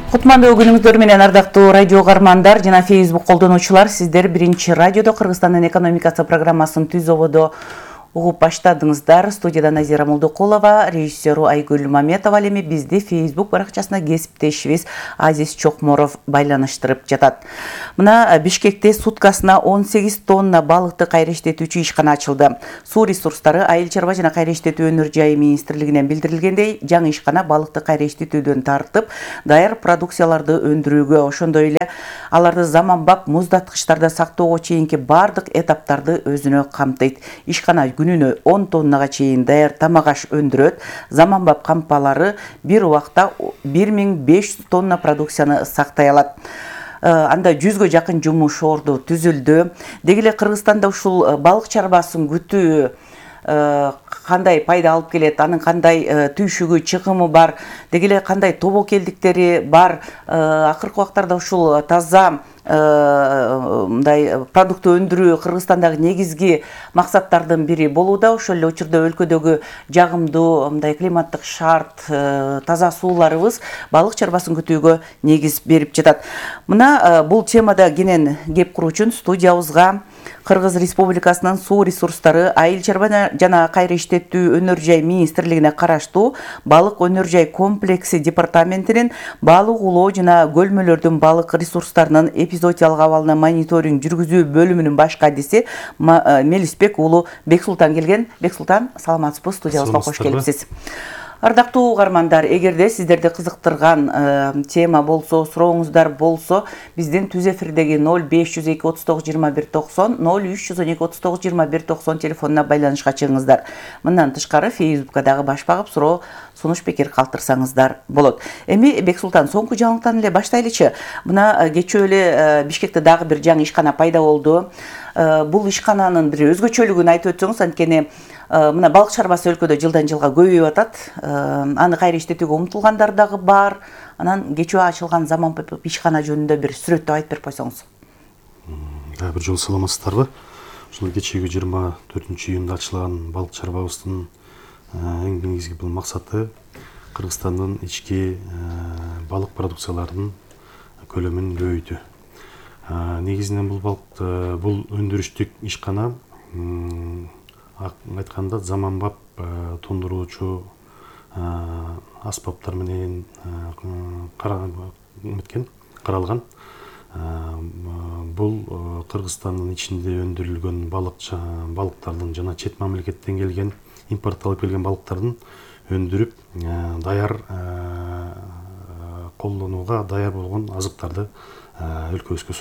Кутмандуу күнүңүздөр менен ардактуу радио каармандар жана Facebook колдонуучулар, сиздер биринчи радиодо Кыргызстандын экономикасы программасын түз ободо угуп баштадыңыздар. Студияда Назира Молдокулова, режиссеру Айгүл Маметова, ал эми бизди Facebook баракчасына кесиптешибиз Азиз Чокморов байланыштырып жатат. Мына Бишкекте суткасына 18 тонна балыкты кайра иштетүүчү ишкана ачылды. Суу ресурстары, айыл чарба жана кайра иштетүү өнөр жайы министрлигинен билдирилгендей, жаңы ишкана балыкты кайра иштетүүдөн тартып, даяр продукцияларды өндүрүүгө, ошондой эле аларды заманбап муздаткычтарда сактоого чейинки бардык этаптарды өзүнө камтыйт. Ишкана күнүнө 10 тоннага чейин даяр тамак аш өндүрөт. Заманбап кампалары бир убакта 1500 тонна продукцияны сактай алат. Анда 100гө жакын жумуш орду түзүлдү. Деги эле Кыргызстанда ушул балык чарбасын күтүү кандай пайда алып келет, анын кандай түйшүгү, чыгымы бар, деги эле кандай тобокелдиктери бар, акыркы убактарда ушул таза мындай продукты өндүрүү Кыргызстандагы негизги максаттардын бири болууда. Ошол эле учурда өлкөдөгү жагымдуу мындай климаттык шарт, таза сууларыбыз балык чарбасын күтүүгө негиз берип жатат. Мына бул темада кенен кеп куруу үчүн студиябызга Кыргыз Республикасынын суу ресурстары, айыл чарба жана кайра иштетүү өнөр жай министрлигине караштуу балык өнөр жай комплекси департаментинин балык улоо жана көлмөлөрдүн балык ресурстарынын эпизоотиялык абалына мониторинг жүргүзүү бөлүмүнүн баш кадиси Мелисбек уулу Бексултан келген. Бексултан, саламатсызбы? Студиябызга кош келипсиз. Ардактуу угармандар, эгерде сиздерди кызыктырган тема болсо, сурооңуздар болсо, биздин түз эфирдеги 0502 39 21 90, 0312 39 21 90 телефонуна байланышка чыгыңыздар. Мындан тышкары Facebook'ка дагы баш багып суроо, сунуш пикир калтырсаңыздар болот. Эми Бексултан, соңку жаңылыктан эле баштайлычы. Мына кечээ эле Бишкекте дагы бир жаңы ишкана пайда болду. Бул ишкананын бир өзгөчөлүгүн айтып өтсөңүз, анткени мына балык чарбасы өлкөдө жылдан жылга көбөйүп атат. Аны кайра иштетүүгө умтулгандар дагы бар. Анан кечөө ачылган заманбап ишкана жөнүндө бир сүрөттөп айтып берип койсоңуз. Бир жолу саламатсыздарбы? Ушул кечеги 24-июнда ачылган балык чарбабыздын эң негизги бул максаты Кыргызстандын ички балык продукцияларынын көлөмүн көбөйтүү. Негизинен бул өндүрүштүк ишкана айтканда заманбап тондуруучу аспаптар менен каралган. Бул Кыргызстандын ичинде өндүрүлгөн балыктардын жана чет мамлекеттен келген, импортталып келген балыктардын өндүрүп даяр колдонууга даяр болгон азыктарды өлкөбүзгө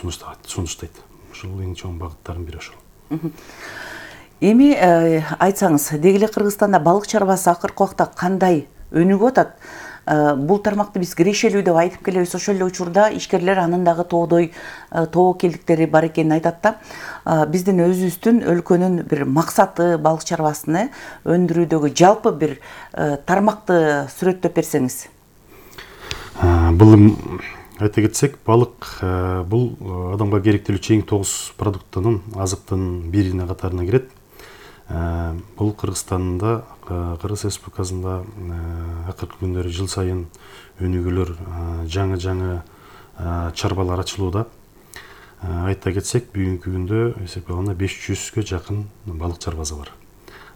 сунуштайт. Ушул эң чоң багыттардын бири ошол. Эми айтсаңыз, деги эле Кыргызстанда балык чарбасы акыркы убакта кандай өнүгүп атат? Бул тармакты биз кирешелүү деп айтып келебиз. Ошол эле учурда ишкерлер анын дагы тоодой тобокелдиктери бар экенин айтат да. Биздин өзүбүздүн өлкөнүн бир максаты балык чарбасыны өндүрүүдөгү жалпы бир тармакты сүрөттөп берсеңиз. Бул айта кетсек, балык бул адамга керектелүүчү эң тогуз продуктунун, азыктын бирине катарына кирет. Бул Кыргызстанда, Кыргыз Республикасында акыркы күндөрү жыл сайын өнүгүүлөр, жаңы чарбалар ачылууда. Айта кетсек, бүгүнкү күндө эсептегенде 500гө жакын балык чарбасы бар.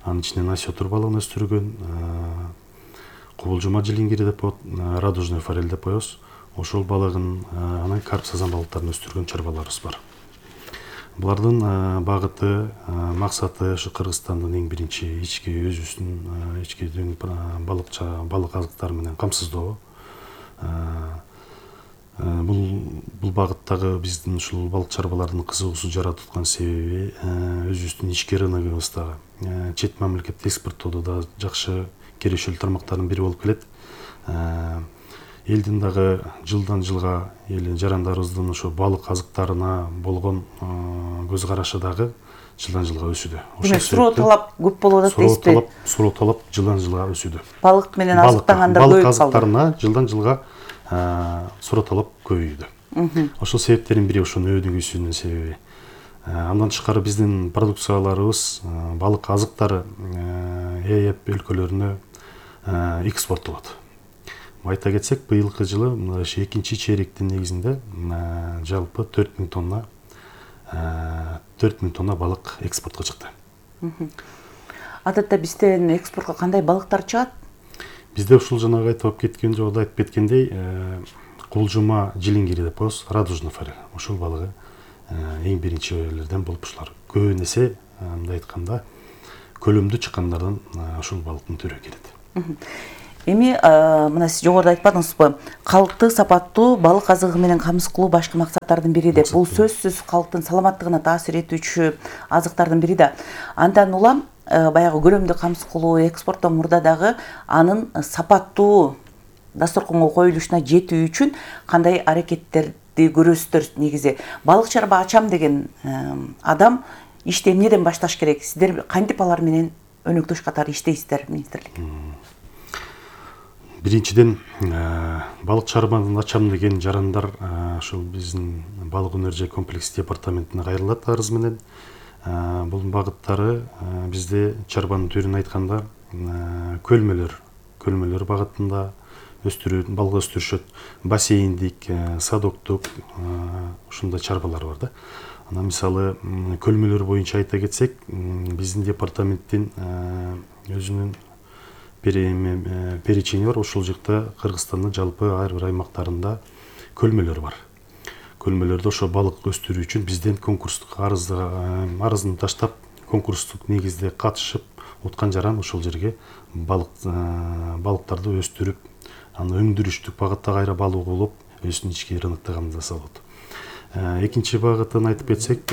Анын ичинен осетр балыгын өстүргөн, кубулжума жилингири деп коет, радужный форель деп коебуз. Ошол балыгын, анан карп сазан балыктарын өстүргөн чарбаларыбыз бар. Булардын багыты, максаты ошо Кыргызстандын эң биринчи ички өзүбүздүн ички балык азыктары менен камсыздоо. Бул багыттагы биздин ушул балык чарбаларынын кызыгуусун жаратып аткан себеби өзүбүздүн ички рыногубуздагы чет мамлекетке экспорттоодо да жакшы кирешелүү тармактардын бири болуп келет. Элдин дагы жылдан жылга жарандарыбыздын ошо балык азыктарына болгон көз карашы дагы жылдан жылга өсүүдө. Суроо талап көп болуп атат дейсизби? Суроо талап жылдан жылга өсүүдө. Балык менен азыктангандар көбөйүп калды. Балык азыктарына жылдан жылга суроо талап көбөйүүдө. Ошол себептердин бири ошонун өнүгүүсүнүн себеби. Андан тышкары биздин продукцияларыбыз, балык азыктары ЭЭП өлкөлөрүнө экспорттолот. Айта кетсек, быйылкы жылы мына экинчи чейректин негизинде жалпы 4000 тонна балык экспортко чыкты. Адатта бизден экспортко кандай балыктар чыгат? Бизде ушул жанагы айтып кеткен жолдо айтып кеткендей, кулжума жилингири деп коебуз, радужный форель. Ушул балыгы эң биринчилерден болуп ушулар. Көбүн эсе мындай айтканда көлөмдүү чыккандардан ушул балыктын түрү келет. Эми мына сиз жогоруда айтпадыңызбы, калкты, сапаттуу балык азыгы менен камсыз кылуу башкы максаттардын бири деп. Бул сөзсүз калктын саламаттыгына таасир этүүчү азыктардын бири да. Андан улам баягы көлөмдү камсыз кылуу экспорттон мурда дагы анын сапаттуу дасторконго коюлушуна жетүү үчүн кандай аракеттерди көрөсүздөр негизи? Балык чарба ачам деген адам ишти эмнеден башташ керек? Сиздер кантип алар менен өнөктөш катары иштейсиздер, министрлик? Биринчиден, балык чарбаны ачам деген жарандар ушул биздин балык өнөр комплекс департаментине кайрылат арыз менен. Бул багыттары бизде чарбанын түрүн айтканда көлмөлөр багытында балык өстүрүшөт, бассейндик, садоктук ушундай чарбалар бар да. Анан мисалы көлмөлөр боюнча айта кетсек, биздин департаменттин өзүнүн перечени бар. Ушул жакта Кыргызстандын жалпы ар бир аймактарында көлмөлөр бар. Көлмөлөрдө ошо балык өстүрүү үчүн бизден конкурстук арызын таштап, конкурстук негизде катышып, уткан жаран ошол жерге балыктарды өстүрүп, аны өндүрүштүк багытта кайра балык болуп, өзүнүн ички рыноктогун жасалат. Экинчи багытын айтып кетсек,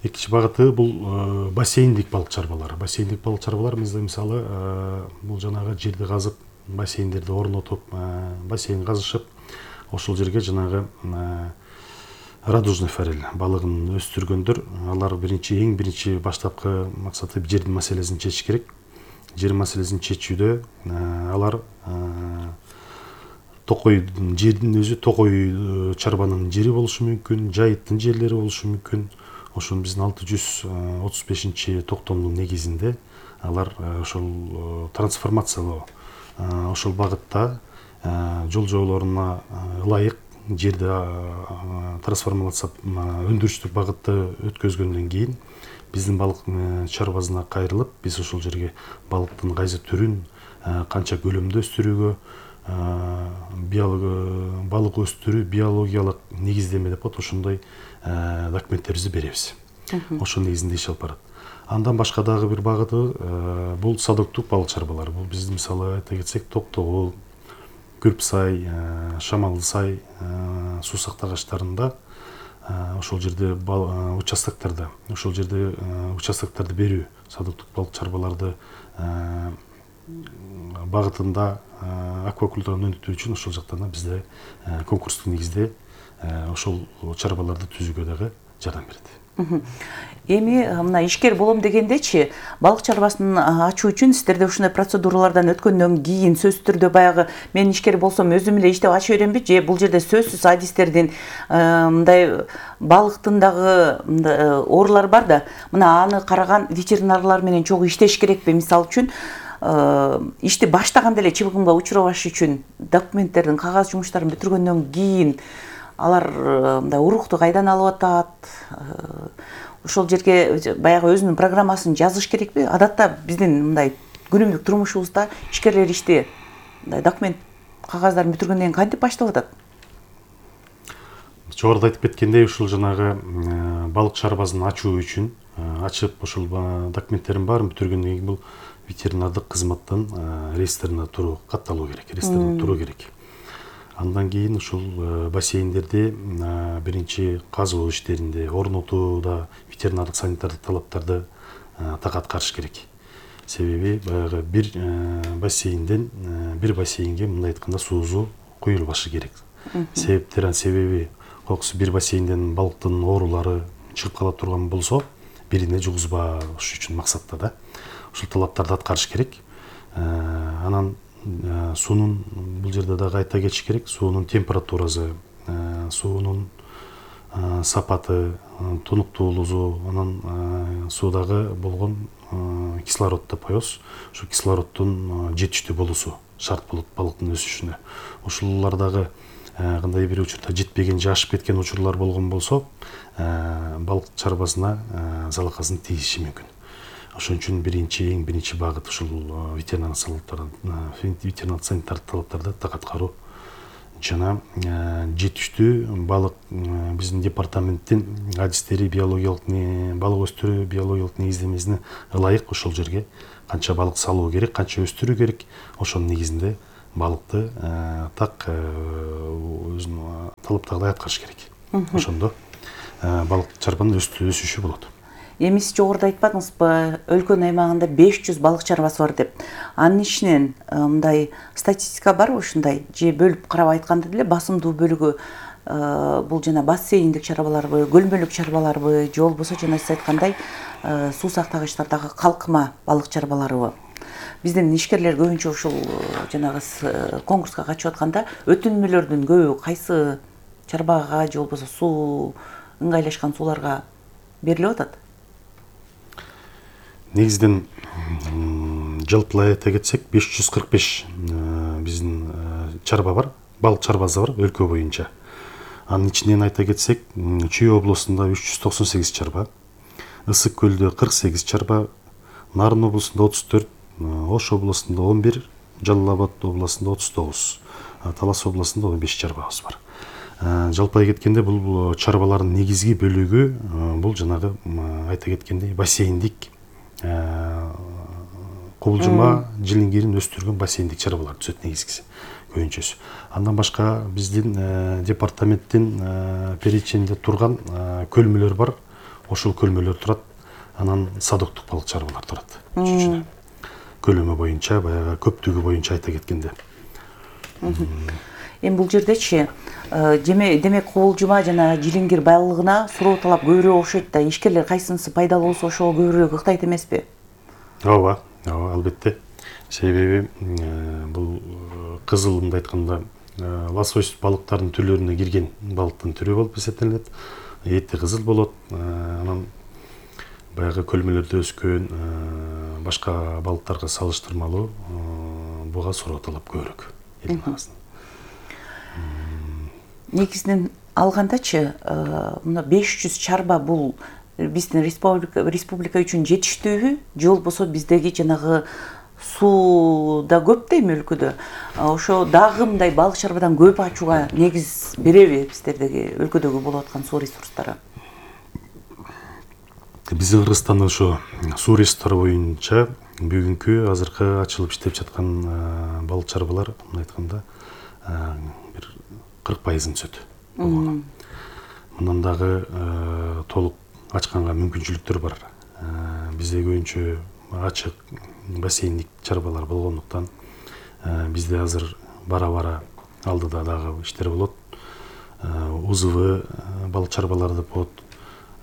экинчи багыты бул бассейндик балык чарбалары. Бассейндик балык чарбалар мисалы бул жанагы жерди казып, бассейндерди орнотуп, бассейн казышып, ошол жерге жанагы радужный форель балыгын өстүргөндөр, алар эң биринчи баштапкы максаты жердин маселесин чечиш керек. Жер маселесин чечүүдө алар жердин өзү токой чарбанын жери болушу мүмкүн, жайыттын жерлери болушу мүмкүн. Ошол биздин 635 токтомдун негизинде алар ошол трансформациялоо ошол багытта жол жоолоруна ылайык жерди трансформация өндүрүштүк багытта өткөзгөндөн кийин биздин балык чарбасына кайрылып, биз ошол жерге балыктын кайсы түрүн канча көлөмдө өстүрүүгө, балык өстүрүү биологиялык негиздеме деп коет, ошондой документтерибизди беребиз. Ошол негизинде иш алып барат. Андан башка дагы бир багыты бул садоктук балык чарбалары. Бул биздин мисалы айта кетсек, Токтогул, Күрпсай, Шамалсай суу сактагычтарында ошол жерде участоктарды берүү, садоктук балык чарбаларды багытында аквакультураны өнүктүү үчүн ошол жактан бизде конкурстук негизде ошол чарбаларды түзүүгө дагы жардам берет. Эми мына ишкер болом дегендечи, балык чарбасын ачуу үчүн сиздерде ушундай процедуралардан өткөндөн кийин сөзсүз түрдө баягы мен ишкер болсом өзүм эле иштеп ача беремби, же бул жерде сөзсүз адистердин мындай балыктын дагы оорулары бар да, мына аны караган ветеринарлар менен чогуу иштеш керекпи? Мисалы үчүн ишти баштаганда эле чыгымга учурабаш үчүн документтердин, кагаз жумуштарын бүтүргөндөн кийин алар мындай урукту кайдан алып атат? Ошол жерге баягы өзүнүн программасын жазыш керекпи? Адатта биздин мындай күнүмдүк турмушубузда ишкерлер ишти мындай документ кагаздарын бүтүргөндөн кийин кантип баштап атат? Жогоруда айтып кеткендей, ушул жанагы балык чарбасын ачуу үчүн ачып, ошол документтерин баарын бүтүргөндөн кийин бул ветеринардык кызматтын реестрине катталуу керек, Андан кийин ушул бассейндерди биринчи казуу иштеринде, орнотууда ветеринардык санитардык талаптарды так аткарыш керек. Себеби баягы бир бассейнге мындай айтканда суузу куюлбашы керек. Себеби бир бассейнден балыктын оорулары чыгып кала турган болсо, бирине жугузбаш үчүн максатта да ушул талаптарды аткарыш керек. Анан суунун бул жерде дагы айта кетиш керек, суунун температурасы, суунун сапаты, тунуктуулугу, анан суудагы болгон кислород деп коебуз. Ушу кислороддун жетиштүү болуусу шарт болот балыктын өсүшүнө. Ушулардагы кандай бир учурда жетпеген, жашып кеткен учурлар болгон болсо, балык чарбасына залакасын тийиши мүмкүн. Ошон үчүн эң биринчи багыт ушул ветеринар санитардык талаптарды так аткаруу жана жетиштүү балык биздин департаменттин адистери балык өстүрүү биологиялык негиздемесине ылайык ошол жерге канча балык салуу керек, канча өстүрүү керек, ошонун негизинде балыкты так өзүнүн талаптагыдай аткарыш керек. Ошондо балык чарбанын өсүшү болот. Эми сиз жогоруда айтпадыңызбы, өлкөнүн аймагында 500 балык чарбасы бар деп. Анын ичинен мындай статистика барбы ушундай? Же бөлүп карап айтканда деле басымдуу бөлүгү бул жана бассейндик чарбаларбы, көлмөлүк чарбаларбы, же болбосо жана сиз айткандай суу сактагычтардагы калкыма балык чарбаларыбы? Биздин ишкерлер көбүнчө ушул жанагы конкурска катышып атканда өтүнмөлөрдүн көбү кайсы чарбага же болбосо суу ыңгайлашкан сууларга берилип атат? Негизинен жалпылай айта кетсек 545 биздин чарба бар, балык чарбасы бар өлкө боюнча. Анын ичинен айта кетсек, Чүй облусунда 398 чарба, Ысык көлдө 48 чарба, Нарын облусунда 34, Ош облусунда 11, Жалал Абад облусунда 39, Талас облусунда 15 чарбабыз бар. Жалпай кеткенде бул чарбалардын негизги бөлүгү бул жанагы айта кеткендей бассейндик кубулжума жилингирин өстүргөн бассейндик чарбалар түзөт негизгиси көбүнчөсү. Андан башка биздин департаменттин перечининде турган көлмөлөр бар. Ошол көлмөлөр турат. Анан садоктук балык чарбалар турат. Көлөмү боюнча, баягы көптүгү боюнча айта кеткенде. Эми бул жердечи демек кубулжума жана жилингир байлыгына суроо талап көбүрөөк окшойт да. Ишкерлер кайсынысы пайдалуу болсо ошого көбүрөөк ыктайт эмеспи? Ооба, албетте. Себеби бул кызыл мындай айтканда лосось балыктардын түрлөрүнө кирген балыктын түрү болуп эсептелет. Эти кызыл болот. Анан баягы көлмөлөрдө өскөн башка балыктарга салыштырмалуу буга суроо талап көбүрөөк. Негизинен алгандачы, мына 500 чарба бул биздин республика үчүн жетиштүүбү, же болбосо биздеги жанагы суу да көп дейм өлкөдө. Ошо дагы мындай балык чарбадан көп ачууга негиз береби биздердеги өлкөдөгү болуп аткан суу ресурстары? Биздин Кыргызстанда ошо суу ресурстары боюнча бүгүнкү азыркы ачылып иштеп жаткан балык чарбалар мындай айтканда бир 40% түзөт. Мындан дагы толук ачканга мүмкүнчүлүктөр бар. Бизде көбүнчө ачык бассейндик чарбалар болгондуктан бизде азыр бара-бара алдыда дагы иштер болот. УЗВ балык чарбаларды болот.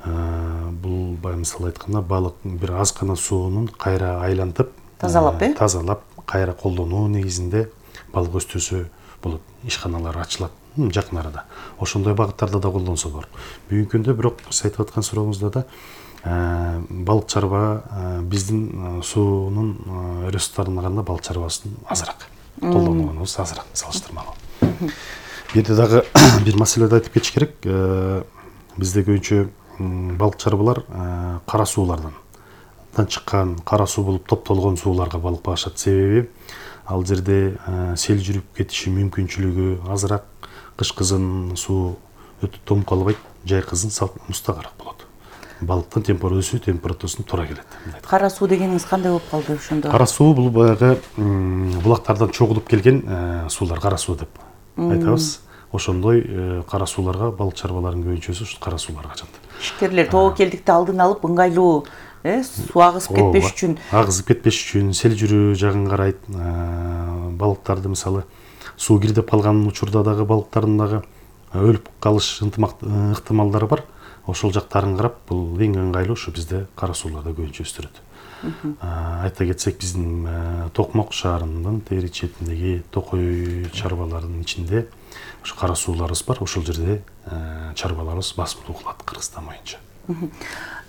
Бул мисалы айтканда балык бир аз гана суунун кайра айлантып, тазалап, кайра колдонуу негизинде балык өстүрсө болот. Ишканалар ачылат жакын арада. Ошондой багыттарда да колдонсо болот. Бүгүнкү күндө бирок сиз айтып аткан сурооңузда да балык чарба биздин суунун ресурстарына караганда балык чарбасын азыраак колдонуубуз азыраак салыштырмалуу. Бир дагы бир маселеди айтып кетиш керек. Бизде көбүнчө балык чарбалар кара суулардан чыккан, кара суу болуп топтолгон сууларга балык багышат. Себеби ал жерде сел жүрүп кетиши мүмкүнчүлүгү азыраак, кыш кызын суу өтө тоңуп калбайт, жай кызын мустагараак болот. Балыктын температурасына туура келет. Кара суу дегениңиз кандай болуп калды ошондо? Кара суу бул баягы булактардан чогулуп келген суулар, кара суу деп айтабыз. Ошондой кара сууларга балык чарбаларынын көбүнчөсү ушу кара сууларга качат. Ишкерлер тобокелдикти алдын алып ыңгайлуу суу агызып кетпеш үчүн, сел жүрүү жагын карайт. Балыктарды мисалы суу кирдеп калган учурда дагы балыктардын дагы өлүп калыш ыктымалдары бар. Ошол жактарын карап, бул эң ыңгайлуу ушу бизде кара сууларда көбүнчө өстүрөт. Айта кетсек, биздин Токмок шаарынын тегерек четиндеги Токой чарбаларынын ичинде ушу кара сууларыбыз бар. Ошол жерде чарбаларыбыз басымдуу кылат Кыргызстан боюнча.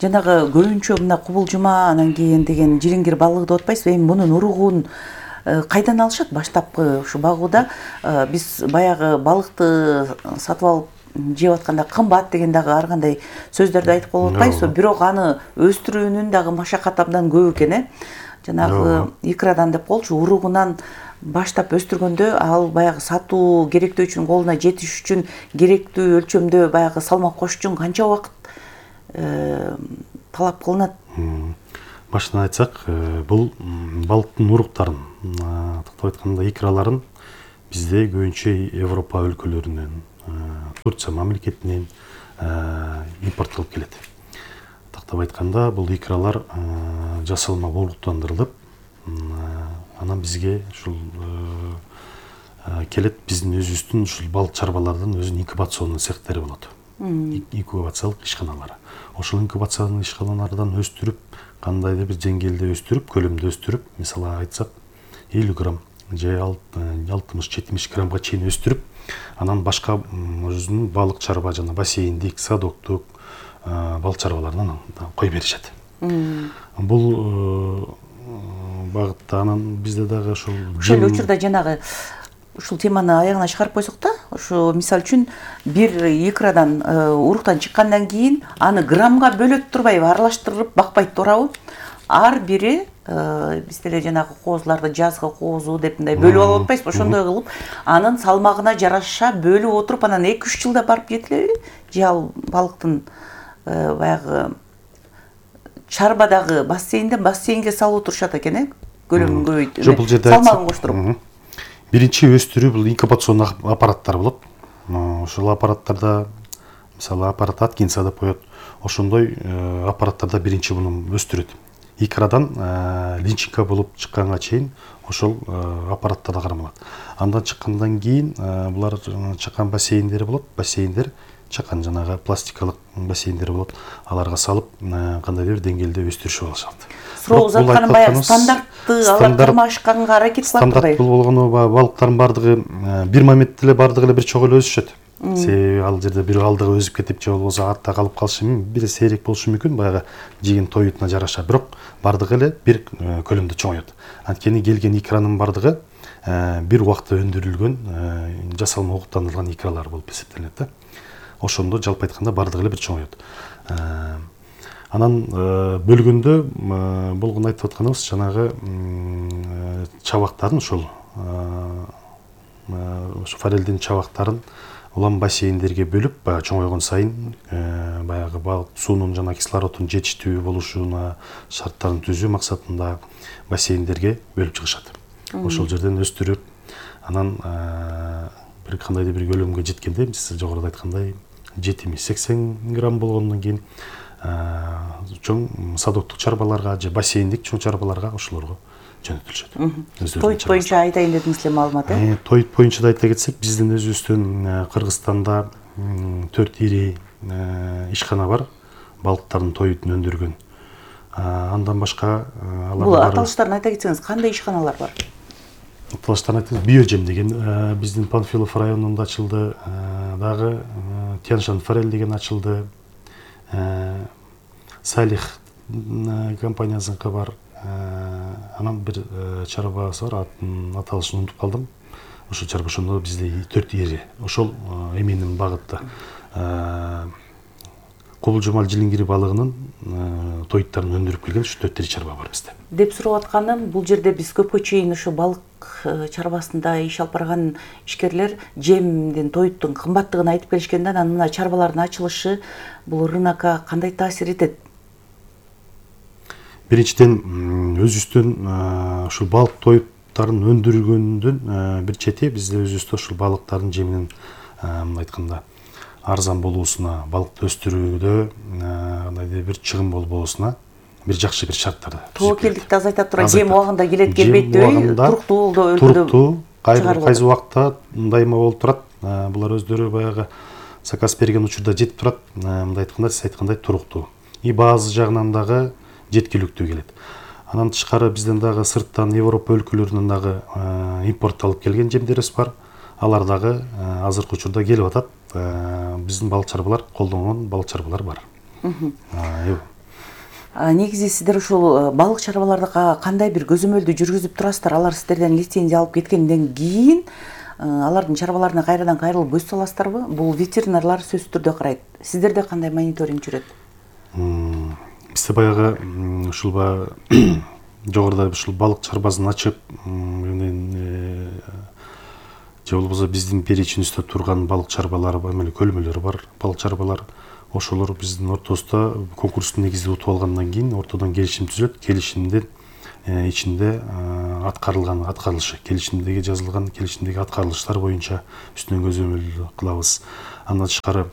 Жанагы көбүнчө мына кубулжума, анан кийин деген жилингир балыгы деп атпайсызбы? Эми мунун уругун кайдан алышат баштапкы ушу багууда? Биз баягы балыкты сатып алып жеп атканда кымбат деген дагы ар кандай сөздөрдү айтып болуп атпайбызбы? Бирок аны өстүрүүнүн дагы машакаты абдан көп экен. Жанагы икрадан деп коелучу, уругунан баштап өстүргөндө ал баягы сатуу керектөө үчүн, колуна жетиш үчүн керектүү өлчөмдө баягы салмак кошуш үчүн канча убакыт талап кылынат? Башынан айтсак, бул балыктын уруктарын, тактап айтканда икраларын бизде көбүнчө Европа өлкөлөрүнөн, Турция мамлекетинен импорттолуп келет. Тактап айтканда, бул икралар жасалма уруктандырылып, анан бизге ушул келет. Биздин өзүбүздүн ушул балык чарбалардын өзүнүн инкубационный цехтери болот. Инкубациялык ишканалары. Ошол инкубациялык ишканалардан өстүрүп, кандайдыр бир деңгээлде өстүрүп, көлөмдө өстүрүп, мисалы айтсак 50 грамм же 60-70 граммга чейин өстүрүп, анан башка өзүнүн балык чарба жана бассейндик, садоктук балык чарбаларынан кой беришет. Бул багытта анан бизде дагы ошол учурда жанагы ушул теманы аягына чыгарып койсок да, ушу мисалы үчүн бир икрадан уруктан чыккандан кийин аны граммга бөлөп турбайбы, аралаштырып бакпайт туурабы? Ар бири бизде эле жанагы коозуларды жазгы коозу деп мындай бөлүп алып атпайсызбы? Ошондой кылып, анын салмагына жараша бөлүп отуруп, анан 2-3 жылда барып жетилеби? Же ал балыктын баягы чарбадагы бассейнге салып отурушат экен, көлөмүн көбөйтүп, салмагын коштуруп. Биринчи өстүрүү бул инкубационный аппараттар болот. Ошол аппараттарда, мисалы аппарат Аткинса деп коет, ошондой аппараттарда биринчи муну өстүрөт. Икрадан личинка болуп чыкканга чейин ошол аппараттарда кармалат. Андан чыккандан кийин булар чакан бассейндери болот. Бассейндер чакан жанагы пластикалык бассейндер болот. Аларга салып, кандайдыр деңгээлде өстүрүшүп алышат. Суроо узатканым баягы стандартты алар кармашканга аракет кылат турбайбы? Стандарт бул болгону балыктардын бардыгы бир моментте эле бардыгы эле бир чоң эле өсүшөт. Себеби ал жерде бир алдыга өзүп кетип же болбосо артта калып калышы мүмкүн, бир сейрек болушу мүмкүн, баягы жеген тоютуна жараша. Бирок бардыгы эле бир көлөмдө чоңоет. Анткени келген ikranын бардыгы бир убакта өндүрүлгөн жасалма уруктандырылган икралар болуп эсептелет да. Ошондо жалпы айтканда бардыгы эле бир чоңоет. Анан бөлгөндө болгону айтып атканыбыз жанагы чабактарын ошол форелдин чабактарын улам бассейндерге бөлүп, баягы чоңойгон сайын баягы балык суунун жана кислороддун жетиштүү болушуна шарттарын түзүү максатында бассейндерге бөлүп чыгышат. Ошол жерден өстүрүп, анан бир кандайдыр бир көлөмгө жеткенде, сиз жогоруда айткандай 70-80 грамм болгондон кийин чоң садоктук чарбаларга же бассейндик чоң чарбаларга ошолорго жөнөтүлүшөт. Тоют боюнча айтайын дедиңиз эле маалымат, Тоют боюнча да айта кетсек, биздин өзүбүздүн Кыргызстанда 4 ири ишкана бар, балыктардын тоютун өндүргөн. Андан башка бул аталыштарын айта кетсеңиз, кандай ишканалар бар? Аталыштарын айтсаңыз, Биожем деген биздин Панфилов районунда ачылды, дагы Тяншан Форель деген ачылды, Салих компаниясыныкы бар. Анан бир чарбасы бар, аталышын унутуп калдым. Ошол чарба ошондо бизде 4 ири. Ошол эменин багытта Кобул Жумал Жилиңгири балыгынын тоюттарын өндүрүп келген 4 ири чарба бар бизде. Деп сурап атканым, бул жерде биз көпкө чейин ошо балык чарбасында иш алып барган ишкерлер жемдин, тоюттун кымбаттыгын айтып келишкенде, анан мына чарбалардын ачылышы бул рынокко кандай таасир этет? Биринчиден өзүбүздүн ушул балык тоюттарын өндүргөндүн бир чети бизде өзүбүздө ушул балыктардын жеминин айтканда арзан болуусуна, балыкты өстүрүүдө кандайдыр бир чыгым болбоосуна бир жакшы бир шарттарды. Тобокелдикти азайтат турган жем убагында келет келбейт дебей, туруктуу өлкөдө. Туруктуу, кайсы убакта дайыма болуп турат. Булар өздөрү баягы заказ берген учурда жетип турат. Мындай айтканда, сиз айткандай туруктуу. И баазы жагынан дагы жеткиликтүү келет. Анан тышкары бизден дагы сырттан Европа өлкөлөрүнөн дагы импортталып келген жемдерибиз бар. Алар дагы азыркы учурда келип атат. Биздин балык чарбалар колдонгон балык чарбалар бар. Негизи сиздер ушул балык чарбаларда кандай бир көзөмөлдү жүргүзүп турасыздар? Алар сиздерден лицензия алып кеткенден кийин алардын чарбаларына кайрадан кайрылып көз саласыздарбы? Бул ветеринарлар сөзсүз түрдө карайт. Сиздерде кандай мониторинг жүрөт? Бизде баягы ушул жогоруда ушул балык чарбасын ачып, же болбосо биздин перечинибизде турган балык чарбалары бар, эмне көлмөлөр бар, балык чарбалар. Ошолор биздин ортобузда конкурстун негизде утуп алгандан кийин ортодон келишим түзүлөт. Келишимдин ичинде келишимдеги жазылган келишимдеги аткарылыштар боюнча үстүнөн көзөмөл кылабыз. Андан тышкары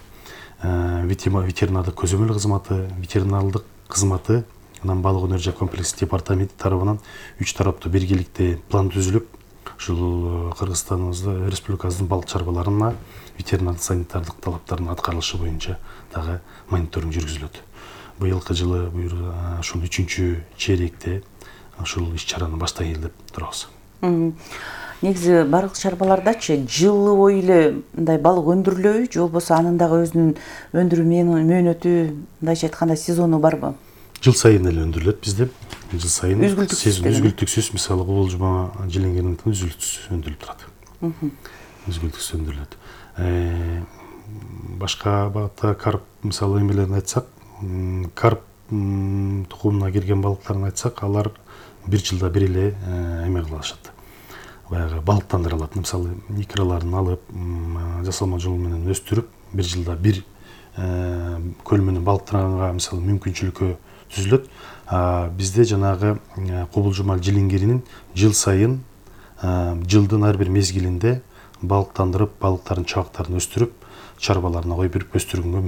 ветеринардык көзөмөл кызматы, ветеринардык кызматы, анан балык өнөр жана комплекстик департаменти тарабынан 3 тараптуу биргеликте план түзүлүп, ушул Кыргызстаныбызда республикабыздын балык чарбаларына ветеринардык санитардык талаптардын аткарылышы боюнча дагы мониторинг жүргүзүлөт. Быйылкы жылы ушул 3-чейректе ушул иш-чараны баштайын деп турабыз. Негизи балык чарбалардачы жылы бою эле мындай балык өндүрүлөбү, же болбосо анын дагы өзүнүн өндүрүү мөөнөтү, мындайча айтканда сезону барбы? Жыл сайын эле өндүрүлөт бизде. Жыл сайын үзгүлтүксүз, мисалы кубулжума жиленгерден үзгүлтүксүз өндүрүлүп турат. Үзгүлтүксүз өндүрүлөт. Башка багытта карп мисалы эмелерин айтсак, карп тукумуна кирген балыктарын айтсак, алар бир жылда бир эле эме кылышат. Баягы балыктандырылат. Мисалы икраларын алып, жасалма жол менен өстүрүп, бир жылда бир көлмөнү балыктанганга мисалы мүмкүнчүлүккө түзүлөт. Бизде жанагы кубулжумал жиленгеринин жыл сайын жылдын ар бир мезгилинде балыктандырып, балыктардын чабактарын өстүрүп, чарбаларына кой берип өстүргөнгө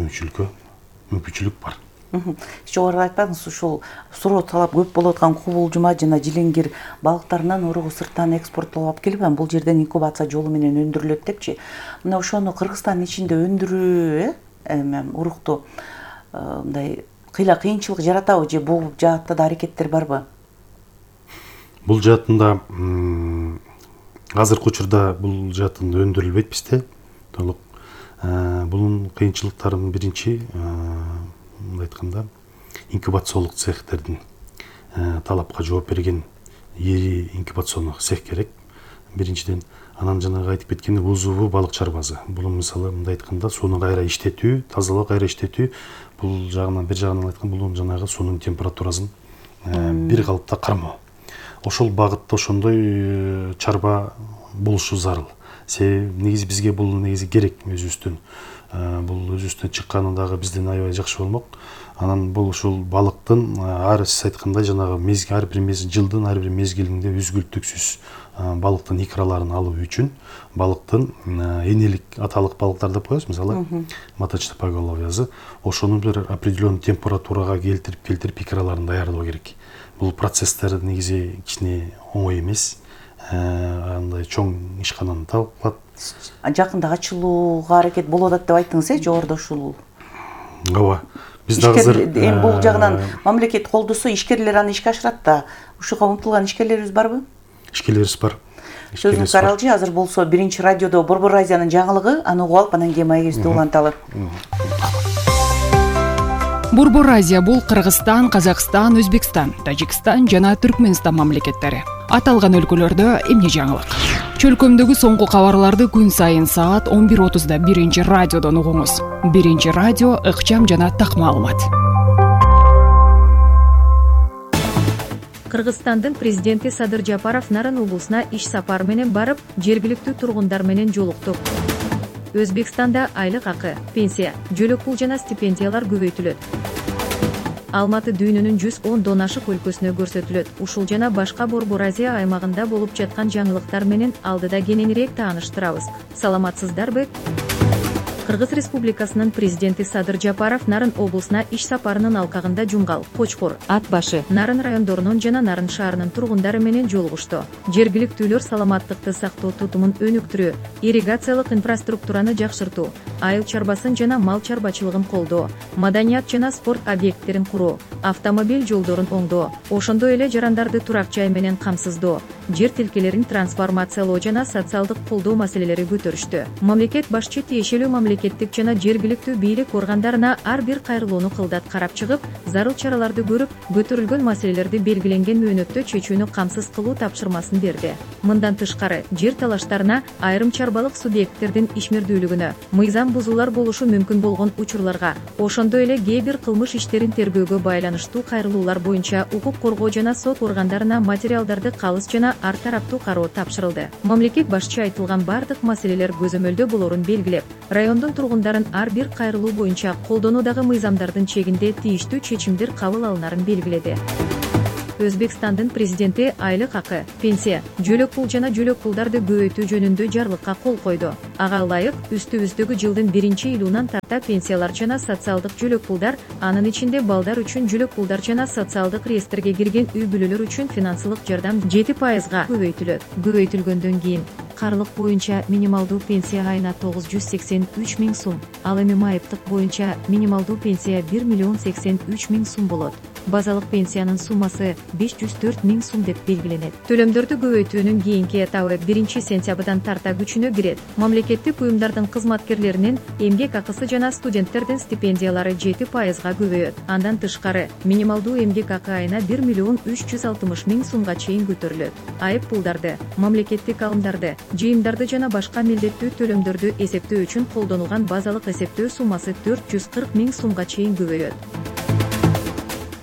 мүмкүнчүлүк бар. Жогоруда айтпадыңыз, ушул суроо талап көп болуп аткан кубулжума жана жиленгер балыктарынан уругу сырттан экспорттолуп алып келип, бул жерден инкубация жолу менен өндүрүлөт депчи. Мына ошону Кыргызстандын ичинде өндүрүү урукту мындай кыйынчылык жаратабы, же бул жаатта да аракеттер барбы? Бул жаатында азыркы учурда бул жаатында өндүрүлбөйт бизде толук. Бунун кыйынчылыктарынын биринчи мындай айтканда инкубациялык цехтердин талапка жооп берген ири инкубационный цех керек. Биринчиден, анан жанагы айтып кеткен узуву балык чарбасы. Бул мисалы мындай айтканда сууну кайра иштетүү, тазалоо, кайра иштетүү. Бул жагынан бир жагынан айтканда бул жанагы суунун температурасын бир калыпта кармоо. Ошол багытта ошондой чарба болушу зарыл. Негизи бизге бул негизи керек өзүбүздөн. Бул өзүбүздөн чыкканы дагы бизден аябай жакшы болмок. Анан бул ушул балыктын сиз айткандай жанагы ар бир жылдын ар бир мезгилинде үзгүлтүксүз балыктын икраларын алуу үчүн балыктын энелик аталык балыктар деп коебуз, мисалы маточный поголовьясы, ошону бир определенный температурага келтирип икраларын даярдоо керек. Бул процесстер негизи кичине оңой эмес. Андай чоң ишкананы талап кылат. Жакында ачылууга аракет болуп атат деп айттыңыз, жогоруда ушул. Ооба. Биз дагы бул жагынан мамлекет колдосо, ишкерлер аны ишке ашырат да. Ушуга умтулган ишкерлерибиз барбы? Ишкерлерибиз бар. Сөзүңүз каралжы, азыр болсо биринчи радиодо Борбор Азиянын жаңылыгы, аны угуп алып, анан кийин маегибизди уланталы. Борбор Азия бул Кыргызстан, Казакстан, Өзбекстан, Тажикстан жана Түркмөнстан мамлекеттери. Аталган өлкөлөрдө эмне жаңылык? Чөлкөмдөгү соңку кабарларды күн сайын саат 11:30 биринчи радиодон угуңуз. Биринчи радио ыкчам жана так маалымат. Кыргызстандын президенти Садыр Жапаров Нарын облусуна иш сапары менен барып, жергиликтүү тургундар менен жолукту. Өзбекстанда айлык акы, пенсия, жөлөк пул жана стипендиялар көбөйтүлөт. Алматы дүйнөнүн 110 донашык өлкөсүнө көрсөтүлөт. Ушул жана башка Борбор Азия аймагында болуп жаткан жаңылыктар менен алдыда кененирээк тааныштырабыз. Саламатсыздарбы? Кыргыз Республикасынын президенти Садыр Жапаров Нарын облусуна иш сапарынын алкагында Жумгал, Кочкор, Ат башы, Нарын райондорунун жана Нарын шаарынын тургундары менен жолугушту. Жергиликтүүлөр саламаттыкты сактоо тутумун өнүктүрүү, ирригациялык инфраструктураны жакшыртуу, айыл чарбасын жана мал чарбачылыгын колдоо, маданият жана спорт объекттерин куруу, автомобиль жолдорун оңдоо, ошондой эле жарандарды турак жай менен камсыздоо, жер тилкелерин трансформациялоо жана социалдык колдоо маселелери көтөрүштү. Мамлекет башчы тиешелүү мамлекеттик жана жергиликтүү бийлик органдарына ар бир кайрылууну кылдат карап чыгып, зарыл чараларды көрүп, көтөрүлгөн маселелерди белгиленген мөөнөттө чечүүнү камсыз кылуу тапшырмасын берди. Мындан тышкары, жер талаштарына, айрым чарбалык субъекттердин ишмердүүлүгүнө, мыйзам бузуулар болушу мүмкүн болгон учурларга, ошондой эле кээ бир кылмыш иштерин тергөөгө байланыштуу кайрылуулар боюнча укук коргоо жана сот органдарына материалдарды калыс жана ар тараптуу кароо тапшырылды. Мамлекет башчы айтылган бардык маселелер көзөмөлдө болорун белгилеп, райондун тургундарын ар бир кайрылуу боюнча колдонуудагы мыйзамдардын чегинде тийиштүү чечимдер кабыл алынарын белгиледи. Өзбекстандын президенти айлык акы, пенсия, жөлөк пул жана жөлөк пулдарды көбөйтүү жөнүндө жарлыкка кол койду. Ага ылайык үстүбүздөгү жылдын 1-июлунан тарта пенсиялар жана социалдык жөлөк пулдар, анын ичинде балдар үчүн жөлөк пулдар жана социалдык реестрге кирген үй бүлөлөр үчүн финансылык жардам 7%га көбөйтүлөт. Көбөйтүлгөндөн кийин карлык боюнча минималдуу пенсия айына 983 миң сум, ал эми майыптык боюнча минималдуу пенсия 1,83 миң сум болот. Базалык пенсиянын суммасы 504 миң сум деп белгиленет. Төлөмдөрдү көбөйтүүнүн кийинки этабы 1-сентябрдан тарта күчүнө кирет. Мамлекеттик уюмдардын кызматкерлеринин эмгек акысы жана студенттердин стипендиялары 7%га көбөйөт. Андан тышкары, минималдуу эмгек акы айына 1,360 миң сумга чейин көтөрүлөт. Айып пулдарды, мамлекеттик алымдарды, жыйымдарды жана башка милдеттүү төлөмдөрдү эсептөө үчүн колдонулган базалык эсептөө суммасы 440 миң сумга чейин көбөйөт.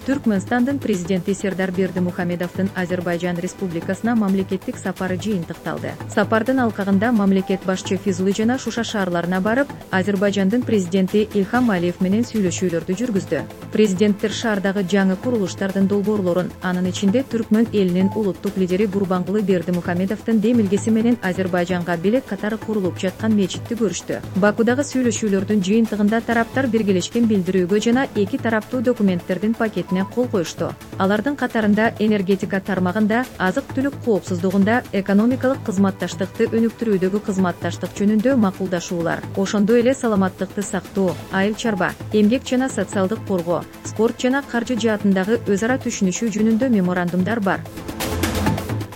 Түркмөнстандын президенти Сердар Бердимухамедовдун Азербайжан Республикасына мамлекеттик сапары жыйынтыкталды. Сапардын алкагында мамлекет башчы Физули жана Шуша шаарларына барып, Азербайжандын президенти Илхам Алиев менен сүйлөшүүлөрдү жүргүздү. Президенттер шаардагы жаңы курулуштардын долбоорлорун, анын ичинде Түркмөн элинин улуттук лидери Гурбангулы Бердимухамедовдун демилгеси менен Азербайжанга белек катары курулуп жаткан мечитти көрүштү. Бакудагы сүйлөшүүлөрдүн жыйынтыгында тараптар биргелешкен билдирүүгө жана эки тараптуу документтердин пакетине кол коюшту. Алардын катарында энергетика тармагында, азык-түлүк коопсуздугунда, экономикалык кызматташтыкты өнүктүрүүдөгү кызматташтык жөнүндө макулдашуулар, ошондой эле саламаттыкты сактоо, айыл чарба, эмгек жана социалдык коргоо, спорт жана каржы жаатындагы өз ара түшүнүшүү жөнүндө меморандумдар бар.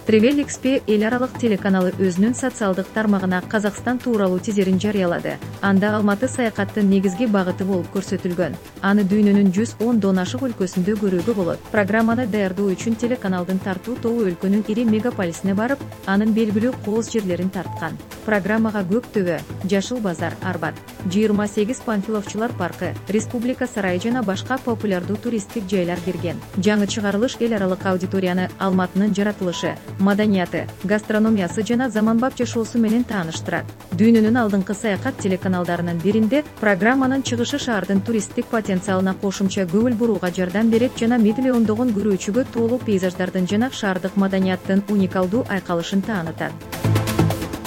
Travel XP эл аралык телеканалы өзүнүн социалдык тармагына Казакстан тууралуу тизерин жарыялады. Анда Алматы саякаттын негизги багыты болуп көрсөтүлгөн. Аны дүйнөнүн 110 ашык өлкөсүндө көрүүгө болот. Программаны даярдоо үчүн телеканалдын тартуу тобу өлкөнүн ири мегаполисине барып, анын белгилүү кооз жерлерин тарткан. Программага Көк Төбө, Жашыл базар, Арбат, 28 Панфиловчулар паркы, Республика сарайы жана башка популярдуу туристтик жайлар кирген. Жаңы чыгарылыш эл аралык аудиторияны Алматынын жаратылышы, маданияты, гастрономиясы жана заманбап жашоосу менен тааныштырат. Дүйнөнүн алдыңкы саякат телеканалдарынын биринде программанын чыгышы шаардын туристтик потенциалына кошумча көңүл бурууга жардам берет жана миллиондогон көрүүчүгө тоолуу пейзаждардын жана шаардык маданияттын уникалдуу айкалышын таанытат.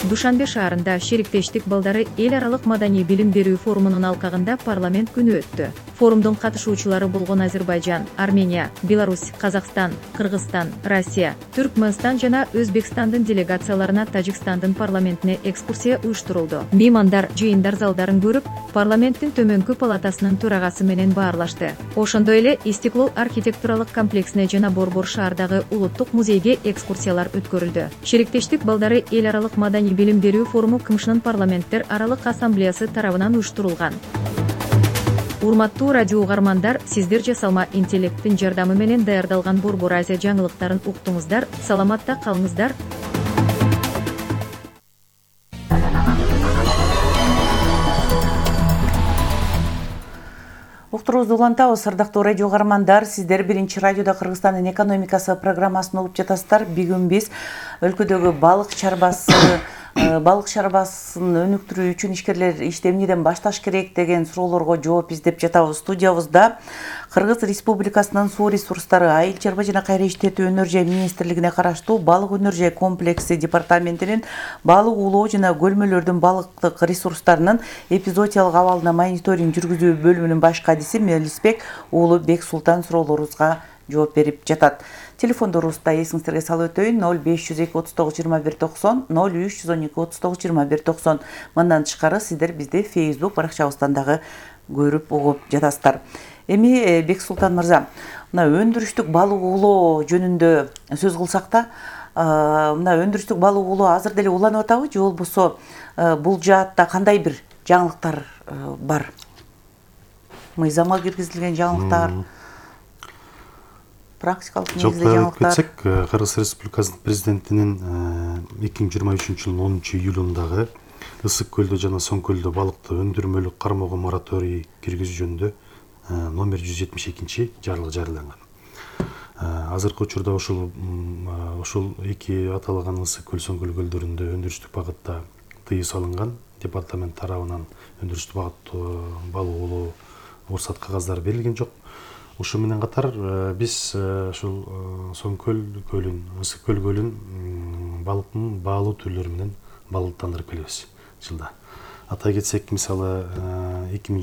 Душанбе шаарында шериктештик балдары эл аралык маданий билим берүү форумунун алкагында парламент күнү өттү. Форумдун катышуучулары болгон Азербайжан, Армения, Беларусь, Казакстан, Кыргызстан, Россия, Түркмөнстан жана Өзбекстандын делегацияларына Тажикстандын парламентине экскурсия уюштурулду. Меймандар жыйындар залдарын көрүп, парламенттин төмөнкү палатасынын төрагасы менен баарлашты. Ошондой эле Истиклол архитектуралык комплексине жана Борбор шаардагы улуттук музейге экскурсиялар өткөрүлдү. Шериктештик балдары эл аралык маданий билим берүү форуму КМШнын парламенттер аралык ассамблеясы тарабынан уюштурулган. Урматтуу радио угармандар, сиздер жасалма интеллекттин жардамы менен даярдалган Борбор Азия жаңылыктарын уктуңуздар. Саламатта калыңыздар. Уктуруубузду улантабыз, ардактуу радио угармандар. Сиздер биринчи радиодо Кыргызстандын экономикасы программасын угуп жатасыздар. Бүгүн биз өлкөдөгү балык чарбасын өнүктүрүү үчүн ишкерлер ишти эмнеден башташ керек деген суроолорго жооп издеп жатабыз. Студиябызда Кыргыз Республикасынын суу ресурстары, айыл чарба жана кайра иштетүү өнөр жай министрлигине караштуу балык өнөр жай комплекси департаментинин балык уулоо жана көлмөлөрдүн балыктык ресурстарынын эпизоотиялык абалына мониторинг жүргүзүү бөлүмүнүн баш кадиси Мелисбек уулу Бексултан суроолорубузга жооп берип жатат. Телефондорубузда эсиңиздерге салып өтөйүн: 0502 39 21 90, 0312 39 21 90. Мындан тышкары сиздер бизди Facebook баракчабыздан дагы көрүп угуп жатасыздар. Эми Бексултан мырза, мына өндүрүштүк балык уулоо жөнүндө сөз кылсак да, мына өндүрүштүк балык уулоо азыр деле уланып атабы же болбосо бул жаатта кандай бир жаңылыктар бар? Мыйзамга киргизилген жаңылыктар, практикалык негизде жаңылыктар. Кетсек, Кыргыз Республикасынын президентинин 2023 жылдын 10 июлундагы Ысык көлдө жана Соң көлдө балыкты өндүрмөлүк кармоого мораторий киргизүү жөнүндө номер 172 жарлыгы жарыяланган. Азыркы учурда ушул эки аталган Ысык көл, Соң көл көлдөрүндө өндүрүштүк багытта тыюу салынган. Департамент тарабынан өндүрүштүк багытта балык оолоо уруксат кагаздары берилген жок. Ушу менен катар биз ушул Соң көл көлүн, Ысык көл көлүн балыктын баалуу түрлөрү менен балыктандырып келебиз жылда. Атай кетсек, мисалы 2020